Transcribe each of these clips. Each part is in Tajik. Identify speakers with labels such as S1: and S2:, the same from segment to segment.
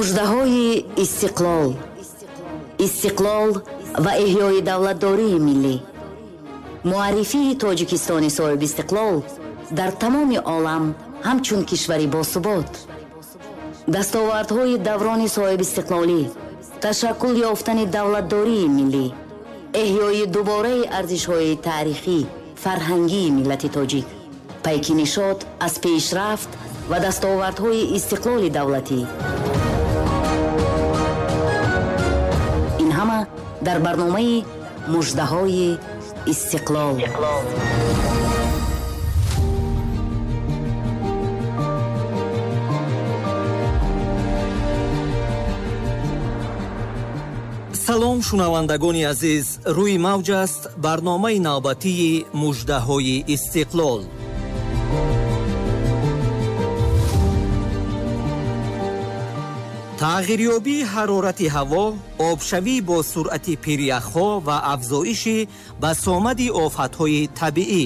S1: Муждаҳои истиқлол, истиқлол ва эҳёи давлатдории миллӣ, муаррифии Тоҷикистони соҳибистиқлол дар тамоми олам ҳамчун кишвари босубот, дастовардҳои даврони соҳибистиқлолӣ, ташаккул ёфтани давлатдории миллӣ, эҳёи дубораи арзишҳои таърихӣ, фарҳангии миллати тоҷик, пайки нишот аз пешрафт ва дастовардҳои истиқлоли давлатӣ. Ин ҳама дар барномаи муждаҳои истиқлол.
S2: Салом, шунавандагони азиз, рӯи мавҷ аст барномаи навбатии муждаҳои истиқлол. Тағйирёбии ҳарорати ҳаво, обшавӣ бо суръати пиряхҳо ва афзоиши басомади офатҳои табиӣ.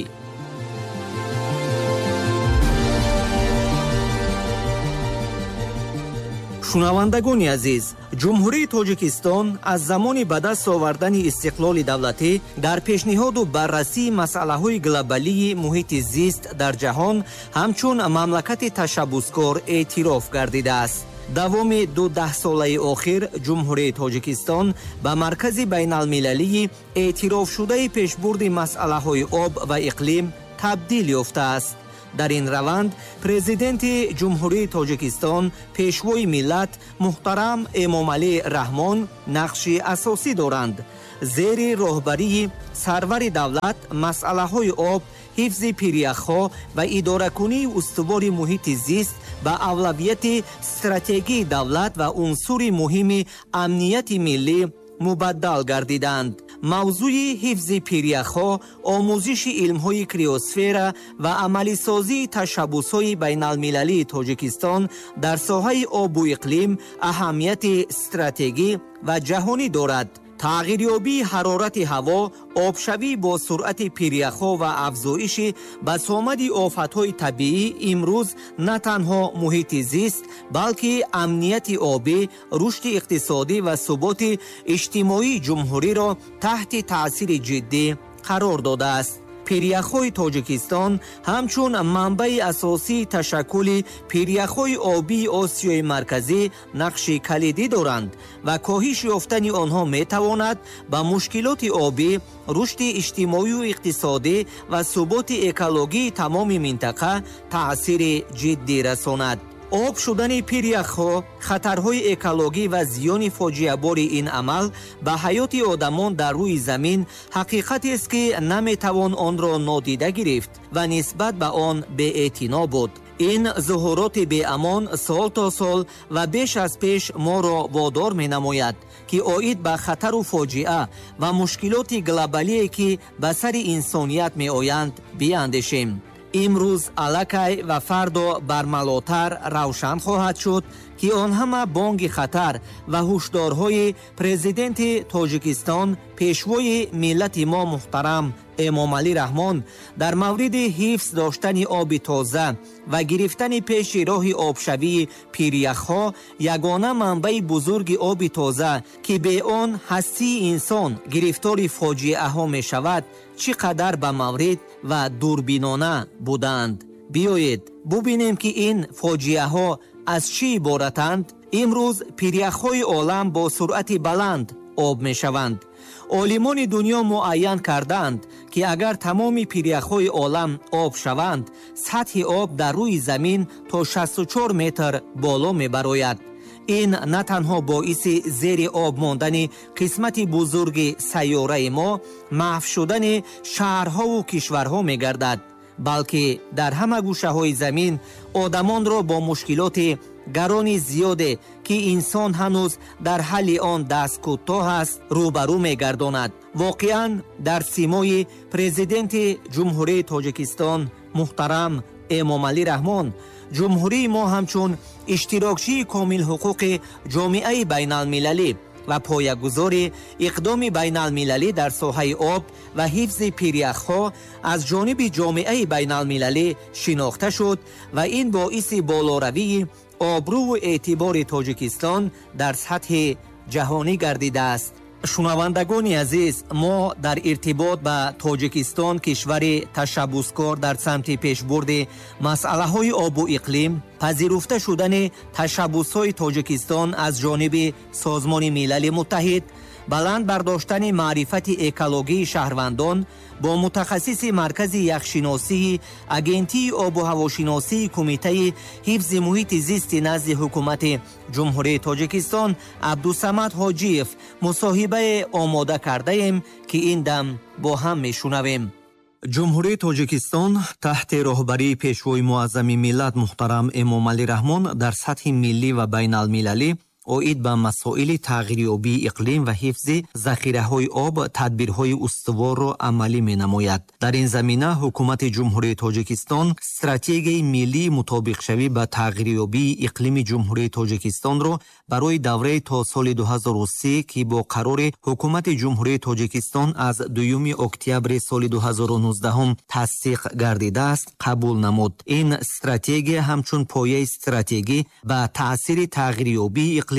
S2: Шунавандагони азиз, Ҷумҳурии Тоҷикистон аз замони ба даст овардани истиқлоли давлатӣ дар пешниҳоду баррасии масъалаҳои глобалии муҳити зист дар ҷаҳон ҳамчун мамлакати ташаббускор эътироф гардидааст. Давоми ду даҳсолаи охир Ҷумҳурии Тоҷикистон ба маркази байналмилалии эътирофшудаи пешбурди масъалаҳои об ва иқлим табдил ёфтааст. Дар ин раванд Президенти Ҷумҳурии Тоҷикистон, Пешвои миллат муҳтарам Эмомалӣ Раҳмон нақши асосӣ доранд. Зери роҳбарии сарвари давлат масъалаҳои об, ҳифзи пиряхҳо ва идоракунии устувори муҳити зист ба авлавияти стратегии давлат ва унсури муҳими амнияти миллӣ мубаддал гардиданд. Мавзӯи ҳифзи пиряхҳо, омӯзиши илмҳои криосфера ва амалисозии ташаббусҳои байналмилалии Тоҷикистон дар соҳаи обу иқлим аҳамияти стратегӣ ва ҷаҳонӣ дорад. Тағйирёбии ҳарорати ҳаво, обшавӣ бо суръати пиряхҳо ва афзоиши басомади офатҳои табиӣ имрӯз на танҳо муҳити зист, балки амнияти обӣ, рушди иқтисодӣ ва суботи иҷтимоии ҷумҳуриро таҳти таъсири ҷиддӣ қарор додааст. Пиряхҳои Тоҷикистон ҳамчун манбаи асосии ташаккули пиряхҳои обии Осиёи Марказӣ нақши калидӣ доранд ва коҳиш ёфтани онҳо метавонад ба мушкилоти обӣ, рушди иҷтимоию иқтисодӣ ва суботи экологии тамоми минтақа таъсири ҷиддӣ расонад. Об шудани пиряхҳо, хатарҳои экологӣ ва зиёни фоҷиабори ин амал ба ҳаёти одамон дар рӯи замин ҳақиқатест, ки наметавон онро нодида гирифт ва нисбат ба он беэътино буд. Ин зуҳуроти беамон сол то сол ва беш аз пеш моро водор менамояд, ки оид ба хатару фоҷиа ва мушкилоти глобалие, ки ба сари инсоният меоянд, биандешем. Имрӯз аллакай ва фардо бармалотар равшан хоҳад шуд, ки он ҳама бонги хатар ва ҳушдорҳои Президенти Тоҷикистон, Пешвои миллати мо муҳтарам Эмомалӣ Раҳмон дар мавриди ҳифз доштани оби тоза ва гирифтани пеши роҳи обшавии пиряхҳо, ягона манбаи бузурги оби тоза, ки бе он ҳастии инсон гирифтори фоҷиаҳо мешавад, чӣ қадар ба маврид ва дурбинона буданд. Биёед бубинем, ки ин фоҷиаҳо аз чӣ иборатанд. Имрӯз пиряхҳои олам бо суръати баланд об мешаванд. Олимони дунё муайян карданд, ки агар тамоми пиряхҳои олам об шаванд, сатҳи об дар рӯи замин то 64 метр боло мебарояд. Ин на танҳо боиси зери об мондани қисмати бузурги сайёраи мо, маҳв шудани шаҳрҳову кишварҳо мегардад, балки дар ҳама гӯшаҳои замин одамонро бо мушкилоти гарони зиёде, ки инсон ҳанӯз дар ҳалли он дасткӯтоҳ аст, рӯбарӯ мегардонад. Воқеан, дар симои Президенти Ҷумҳурии Тоҷикистон муҳтарам Эмомалӣ Раҳмон ҷумҳурии мо ҳамчун иштирокчии комилҳуқуқи ҷомеаи байналмилалӣ ва поягузори иқдоми байналмилалӣ дар соҳаи об ва ҳифзи пиряхҳо аз ҷониби ҷомеаи байналмилалӣ шинохта шуд ва ин боиси болоравии Обрӯву эътибори Тоҷикистон дар сатҳи ҷаҳонӣ гардидааст. Шунавандагони азиз, мо дар иртибот ба Тоҷикистон, кишвари ташаббускор дар самти пешбурди масъалаҳои обу иқлим, пазируфта шудани ташаббусҳои Тоҷикистон аз ҷониби Созмони Милали Муттаҳид, баланд бардоштани маърифати экологии шаҳрвандон бо мутахассиси Маркази яхшиносии Агентии обу ҳавошиносии Кумитаи ҳифзи муҳити зисти назди Ҳукумати Ҷумҳурии Тоҷикистон Абдусамад Ҳоҷиев мусоҳибае омода кардаем, ки ин дам бо ҳам мешунавем. Ҷумҳурии Тоҷикистон таҳти роҳбарии Пешвои Муаззами миллат муҳтарам Эмомалӣ Раҳмон дар сатҳи миллӣ ва байналмилалӣ оид ба масоили тағйирёбии иқлим ва ҳифзи захираҳои об тадбирҳои устуворро амалӣ менамояд. Дар ин замина Ҳукумати Ҷумҳурии Тоҷикистон стратегияи миллии мутобиқшавӣ ба тағйирёбии иқлими Ҷумҳурии Тоҷикистонро барои давраи то соли 2030, ки бо қарори Ҳукумати Ҷумҳурии Тоҷикистон аз 2 октябри соли 2019 тасдиқ гардидааст, қабул намуд. Ин стратегия ҳамчун пояи стратегӣ ба таъсири тағйирёбии иқлим,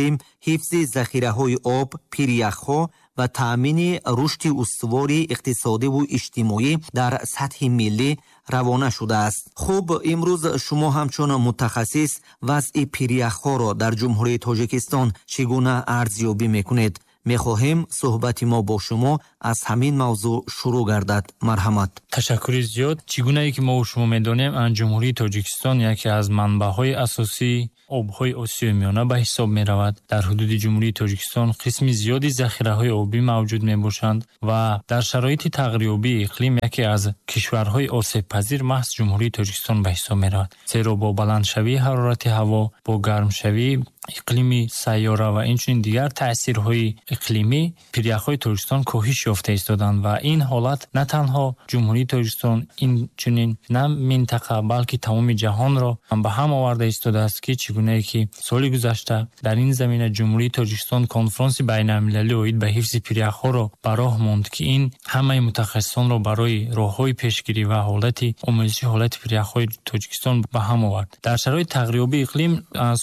S2: ҳифзи захираҳои об, пиряхҳо ва таъмини рушди устувори иқтисодиву иҷтимоӣ дар сатҳи миллӣ равона шудааст. Хуб, имрӯз шумо ҳамчун мутахассис вазъи пиряхҳоро дар Ҷумҳурии Тоҷикистон чӣ гуна арзёбӣ мекунед? Мехоҳем суҳбати мо бо шумо аз ҳамин мавзӯъ шурӯъ гардад. Марҳамат.
S3: Ташаккури зиёд. Чӣ гунае ки мо шумо медонем, Ҷумҳурии Тоҷикистон яке аз манбаъҳои асосии обҳои Осиёи Миёна ба ҳисоб меравад. Дар ҳудуди Ҷумҳурии Тоҷикистон қисми зиёди захираҳои обӣ мавҷуд мебошанд ва дар шароити тағйирёбии иқлим яке аз кишварҳои осебпазир маҳз Ҷумҳурии Тоҷикистон ба ҳисоб меравад. Зеро бо баландшавии ҳарорати ҳаво, бо гармшавии иқлими сайёра ва инчунин дигар таъсирҳои иқлимӣ пиряхҳои Тоҷикистон коҳиш ёфта истоданд ва ин ҳолат на танҳо Ҷумҳурии Тоҷикистон, инчунин на минтақа, балки тамоми ҷаҳонро ба ҳам оварда истодааст, ки чӣ гунае ки соли гузашта дар ин замина Ҷумҳурии Тоҷикистон конфронси байналмилалӣ оид ба ҳифзи пиряхҳоро ба роҳ монд, ки ин ҳамаи мутахассисонро барои роҳҳои пешгирӣ ва ҳолати омӯзиши ҳолати пиряхҳои Тоҷикистон ба ҳам овард. Дар шароити тағйирёбии иқлим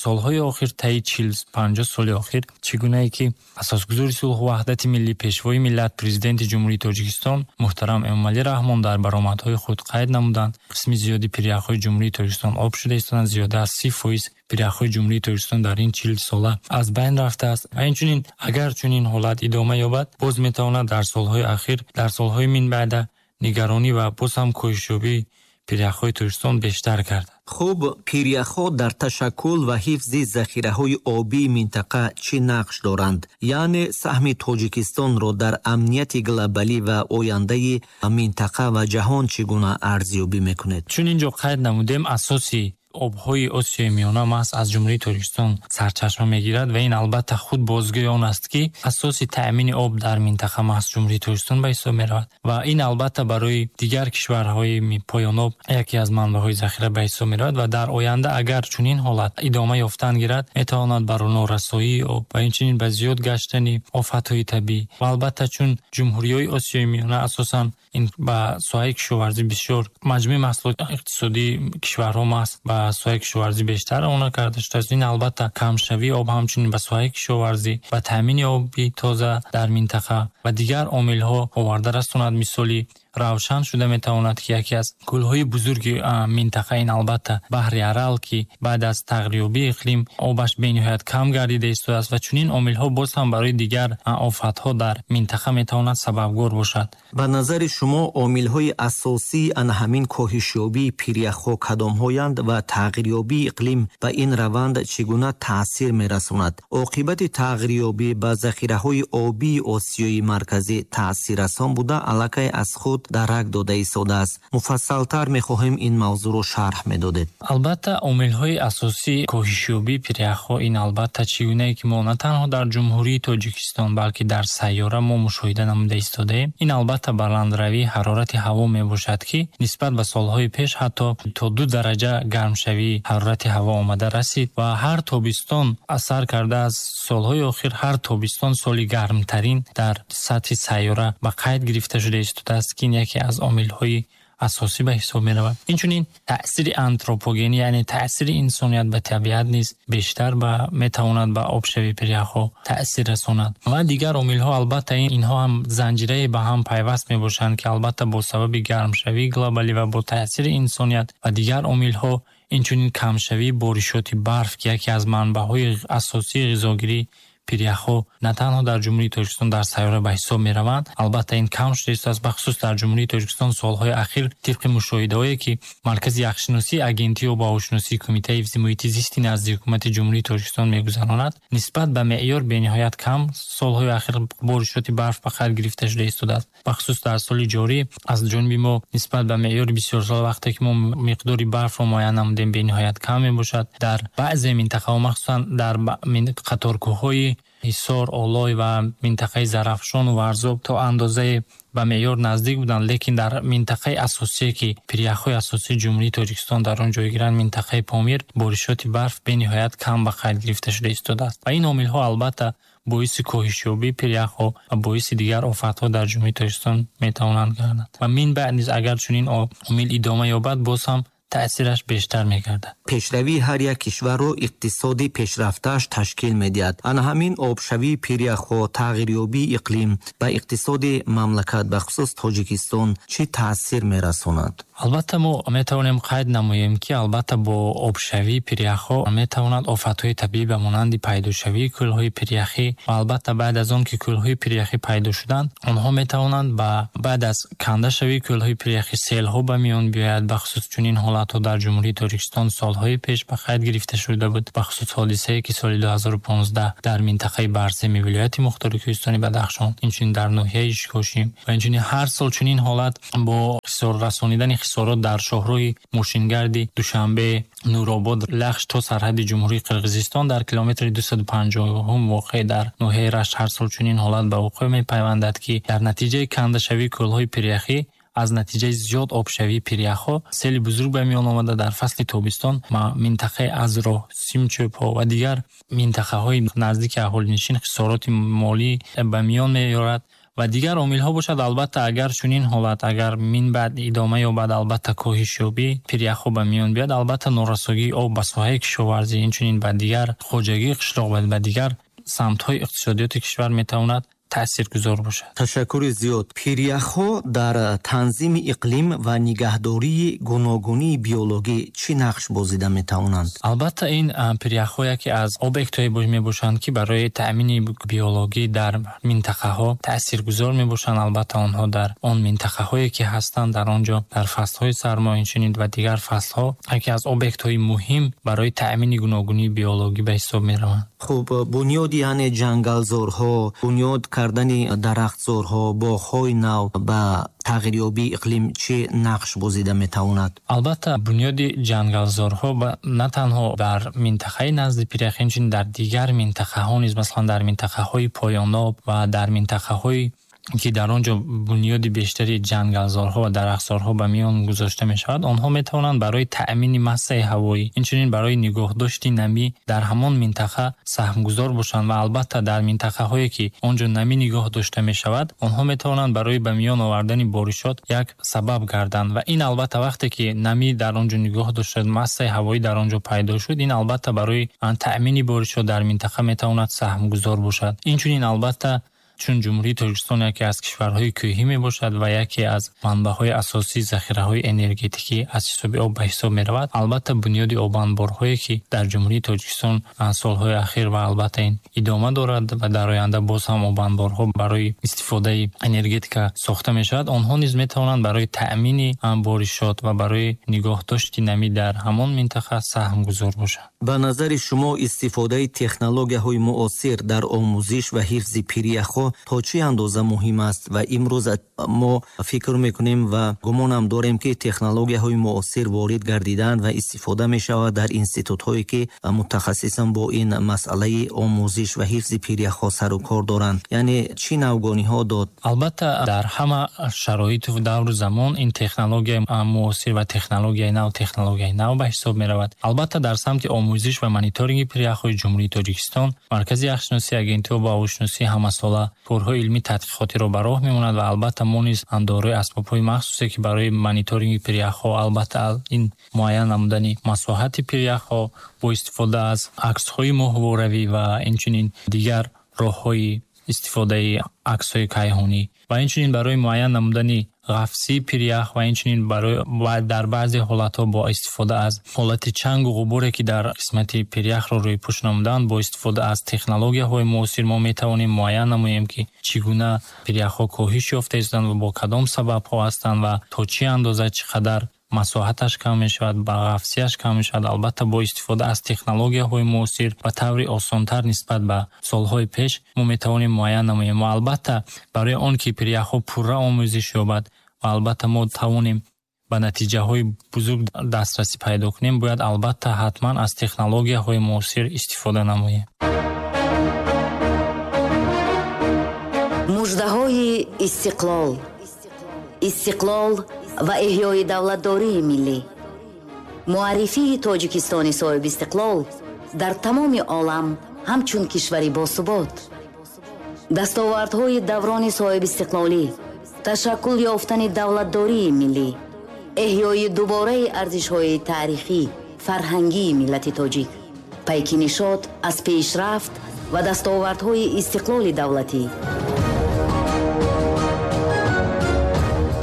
S3: солҳои охир, таи 40-50 соли охир, чӣ гунае ки асосгузори сулҳу ваҳдати миллӣ, Пешвои миллат, Президенти Ҷумҳурии Тоҷикистон муҳтарам Эмомалӣ Раҳмон дар баромадҳои худ қайд намуданд, қисми зиёди пиряхҳои Ҷумҳурии Тоҷикистон об шуда истоданд. Зиёда аз 30% пиряхҳои Ҷумҳурии Тоҷикистон дар ин 40 сола аз байн рафтааст ва инчунин агар чунин ҳолат идома ёбад, боз метавонад дар солҳои ахир, дар солҳои минбаъда нигаронӣ ва боз ҳам коҳишёбии пиряхҳои Тоҷикистон бештар гардад.
S2: Хуб, пиряхҳо дар ташаккул ва ҳифзи захираҳои обии минтақа чӣ нақш доранд? Яъне саҳми Тоҷикистонро дар амнияти глобалӣ ва ояндаи минтақа ва ҷаҳон чӣ гуна арзёбӣ мекунед?
S3: Чун ин ҷо қайд намудем, асоси обҳои Осиёи Миёна маҳз аз Ҷумҳурии Тоҷикистон сарчашма мегирад ва ин албатта худ бозгӯи он аст, ки асоси таъмини об дар минтақа маҳз Ҷумҳурии Тоҷикистон ба ҳисоб меравад ва ин албатта барои дигар кишварҳои поёноб яке аз манбаъҳои захира ба ҳисоб меравад ва дар оянда агар чунин ҳолат идома ёфтан гирад, метавонад ба норасоии об ва инчунин ба зиёд гаштани офатҳои табиӣ ва албатта чун ҷумҳуриҳои Осиёи Миёна асосан ин ба соҳаи кишоварзӣ бисёр маҷмӯи маҳсулоти иқтисодии кишварҳо маҳз ба соҳаи кишоварзӣ бештар равона карда шудааст. Ин албатта камшавии об ҳамчунин ба соҳаи кишоварзӣ, ба таъмини оби тоза дар минтақа ва дигар омилҳо оварда расонад. Мисоли равшан шуда метавонад, ки яке аз кӯлҳои бузурги минтақа ин албатта баҳри Арал, ки баъд аз тағйирёбии иқлим обаш бениҳоят кам гардида истодааст ва чунин омилҳо боз ҳам барои дигар офатҳо дар минтақа метавонад сабабгор бошад.
S2: Ба назари шумо омилҳои асосии ана ҳамин коҳишёбии пиряхҳо кадомҳоянд ва тағйирёбии иқлим ба ин раванд чӣ гуна таъсир мерасонад? Оқибати тағйирёбӣ ба захираҳои обии Осиёи Марказӣ таъсиррасон буда, аллакай аз худ дарак дода истодааст. Муфассалтар мехоҳем ин мавзӯъро шарҳ медодед.
S3: Албатта омилҳои асосии коҳишёбии пиряхҳо ин албатта чӣ гунае ки мо на танҳо дар Ҷумҳурии Тоҷикистон, балки дар сайёра мо мушоҳида намуда истодаем, ин албатта баландравии ҳарорати ҳаво мебошад, ки нисбат ба солҳои пеш ҳатто то 2 дараҷа гармшавии ҳарорати ҳаво омада расид ва ҳар тобистон асар карда аз солҳои охир ҳар тобистон соли гармтарин дар сатҳи сайёра ба қайд гирифта шуда истодааст, ки ин яке аз омилҳои Асосӣ ба ҳисоб меравад. Инчунин таъсири антропогенӣ, яъне таъсири инсоният ба табиат низ бештар метавонад ба обшавии пиряхҳо таъсир расонад. Ва дигар омилҳо, албатта, инҳо ҳам занҷираи ба ҳам пайваст мебошанд, ки албатта бо сабаби гармшавии глобалӣ ва бо таъсири инсоният ва дигар омилҳо, инчунин камшавии боришоти барф, ки яке аз манбаъҳои асосии ғизогирии пиряхҳо на танҳо дар Ҷумҳурии Тоҷикистон, дар сайёра ба ҳисоб мераванд, албатта ин кам шуда истодааст. Бахусус дар Ҷумҳурии Тоҷикистон солҳои ахир, тибқи мушоҳидаҳое, ки Маркази яхшиносии Агентии обуҳавошиносии Кумитаи ҳифзи муҳити зисти назди Ҳукумати Ҷумҳурии Тоҷикистон мегузаронад, нисбат ба меъёр бениҳоят кам солҳои ахир боришоти барф ба қайд гирифта шуда истодааст. Бахусус дар соли ҷорӣ аз ҷониби мо нисбат ба меъёри бисёрсола, вақте ки мо миқдори барфро муайян намудем, бениҳоят кам мебошад. Дар баъзе минтақаҳо, махсусан дар қаторкӯҳҳои Ҳисор, Олой ва минтақаи Зарафшону Варзоб, то андозае ба меъёр наздик буданд, лекин дар минтақаи асосие, ки пиряхҳои асосии Ҷумҳурии Тоҷикистон дар он ҷойгиранд, минтақаи Помир, боришоти барф бениҳоят кам ба қайд гирифта шуда истодааст. Ва ин омилҳо албатта боиси коҳишёбии пиряхҳо ва боиси дигар офатҳо дар Ҷумҳурии Тоҷикистон метавонанд гарданд. Ва минбаъд низ агар чунин омил идома ёбад, боз ҳам таъсираш бештар мегардад.
S2: Пешравии ҳар як кишварро иқтисоди пешрафтааш ташкил медиҳад. Ана ҳамин обшавии пиряхҳо, тағйирёбии иқлим ба иқтисоди мамлакат, бахусус Тоҷикистон, чӣ таъсир мерасонад?
S3: Албатта, мо метавонем қайд намоем, ки албатта бо обшавии пиряхҳо метавонад офатҳои табиӣ ба монанди пайдошавии кӯлҳои пиряхӣ ва албатта баъд аз он ки кӯлҳои пиряхӣ пайдо шуданд, онҳо метавонанд ба баъд аз кандашавии кӯлҳои пиряхӣ селҳо ба миён биёяд. Бахусус чунин ҳолатҳо дар Ҷумҳурии Тоҷикистон солҳои пеш ба қайд гирифта шуда буд, бахусус ҳодисае, ки соли 2015 дар минтақаи Барсеми вилояти мухтори Кӯҳистони Бадахшон, инчунин дар ноҳияи Ишкошим ва инчунин ҳар сол чунин ҳолат бо расонидани хисорот дар шоҳроҳи мошингарди Душанбе, Нуробод, Лахш то сарҳади Ҷумҳурии Қирғизистон дар километри 250 воқеъ дар ноҳияи Рашт ҳар сол чунин ҳолат ба вуқӯъ мепайвандад, ки дар натиҷаи кандашавии кӯлҳои пиряхӣ, аз натиҷаи зиёд обшавии пиряхҳо сели бузург ба миён омада, дар фасли тобистон минтақаи Азроҳ, Симчӯбҳо ва дигар минтақаҳои наздики аҳолинишин хисороти молӣ ба миён меорад. Ва дигар омилҳо бошад, албатта, агар чунин ҳолат агар минбаъд идома ёбад, албатта коҳишёбии пиряхҳо ба миён биёяд, албатта норасогии об ба соҳаи кишоварзӣ, инчунин ба дигар хоҷагии қишлоқ ва ба дигар самтҳои иқтисодиёти кишвар метавонад таъсиргузор бошад.
S2: Ташаккури зиёд. Пиряхҳо дар танзими иқлим ва нигаҳдории гуногунии биологӣ чӣ нақш бозида метавонанд?
S3: Албатта, ин пиряхҳо яке аз объектҳое мебошанд, ки барои таъмини биологӣ дар минтақаҳо таъсиргузор мебошанд. Албатта, онҳо дар он минтақаҳое, ки ҳастанд, дар он ҷо дар фаслҳои сармо, инчунин ва дигар фаслҳо яке аз объектҳои муҳим барои таъмини гуногунии биологӣ ба ҳисоб мераванд.
S2: Хуб, бунёди, яъне ҷангалзорҳо, бунёд кардани дарахтзорҳо, боғҳои нав ба тағйирёбии иқлим чӣ нақш бозида метавонад?
S3: Албатта, бунёди ҷангалзорҳо на танҳо дар минтақаи назди пиряхӣ, инчунин дар дигар минтақаҳо низ, масалан дар минтақаҳои поёноб ва дар минтақаҳое, ки дар он ҷо бунёди бештари ҷангалзорҳо ва дарахтзорҳо ба миён гузошта мешавад, онҳо метавонанд барои таъмини массаи ҳавоӣ, инчунин барои нигоҳдошти намӣ дар ҳамон минтақа саҳмгузор бошанд. Ва албатта дар минтақаҳое, ки он ҷо намӣ нигоҳ дошта мешавад, онҳо метавонанд барои ба миён овардани боришот як сабаб гарданд. Ва ин албатта вақте ки намӣ дар он ҷо нигоҳ дошта, массаи ҳавоӣ дар он ҷо пайдо шуд, ин албатта барои таъмини боришот дар минтақа метавонад саҳмгузор бошад. Инчунин албатта, чун Ҷумҳурии Тоҷикистон яке аз кишварҳои кӯҳӣ мебошад ва яке аз манбаъҳои асосии захираҳои энергетикӣ аз ҳисоби об ба ҳисоб меравад, албатта бунёди обанборҳое, ки дар Ҷумҳурии Тоҷикистон солҳои ахир ва албатта ин идома дорад ва дар оянда боз ҳам обанборҳо барои истифодаи энергетика сохта мешавад, онҳо низ метавонанд барои таъмини боришот ва барои нигоҳдошти намӣ дар ҳамон минтақа саҳмгузор бошанд.
S2: Ба назари шумо, истифодаи технологияҳои муосир дар омӯзиш ва ҳифзи пиряхҳо то чӣ андоза муҳим аст? Ва имрӯз мо фикр мекунем ва гумонам дорем, ки технологияҳои муосир ворид гардиданд ва истифода мешавад дар институтҳое, ки мутахассисан бо ин масъалаи омӯзиш ва ҳифзи пиряхҳо сару кор доранд. Яъне чӣ навгониҳо дод?
S3: Албатта, дар ҳама шароиту давру замон ин технологияи муосир ва технологияи нав технологияи нав ба ҳисоб меравад. Албатта, дар самти омӯзиш ва мониторинги пиряхҳои Ҷумҳурии Тоҷикистон Маркази яхшиносии Агентии обу ҳавошиносӣ ҳамасола Корҳои илмӣ тадқиқотиро ба роҳ мемонад ва албатта мо низ дорои асбобҳои махсусе, ки барои мониторинги пиряхҳо, албатта ин муайян намудани масоҳати пиряхҳо бо истифода аз аксҳои моҳворавӣ ва инчунин дигар роҳҳои истифодаи аксҳои кайҳонӣ ва инчунин барои муайян намудани ғафсии пирях ва инчунин барои дар баъзе ҳолатҳо бо истифода аз ҳолати чангу ғуборе, ки дар қисмати пиряхро рӯйпӯш намуданд, бо истифода аз технологияҳои муосир мо метавонем муайян намоем, ки чӣ гуна пиряхҳо коҳиш ёфта истоданд ва бо кадом сабабҳо ҳастанд ва то чӣ андоза, чӣ қадар масоҳаташ кам мешавад, ба ғафсияш кам мешавад. Албатта бо истифода аз технологияҳои муосир ба таври осонтар нисбат ба солҳои пеш мо метавонем муайян намоем ва албатта барои он ки пиряхҳо пурра омӯзиш ёбад ва албатта мо тавонем ба натиҷаҳои бузург дастрасӣ пайдо кунем, бояд албатта ҳатман аз технологияҳои муосир истифода намоем.
S1: Муждаҳои истиқлол. Истиқлол ва эҳёи давлатдории миллӣ. Муаррифии Тоҷикистони соҳибистиқлол дар тамоми олам ҳамчун кишвари босубот. Дастовардҳои даврони соҳибистиқлолӣ, ташаккул ёфтани давлатдории миллӣ, эҳёи дубораи арзишҳои таърихӣ, фарҳангии миллати тоҷик, пайки нишот аз пешрафт ва дастовардҳои истиқлоли давлатӣ.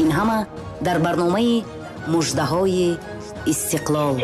S1: Ин ҳама дар барномаи Муждаҳои истиқлол.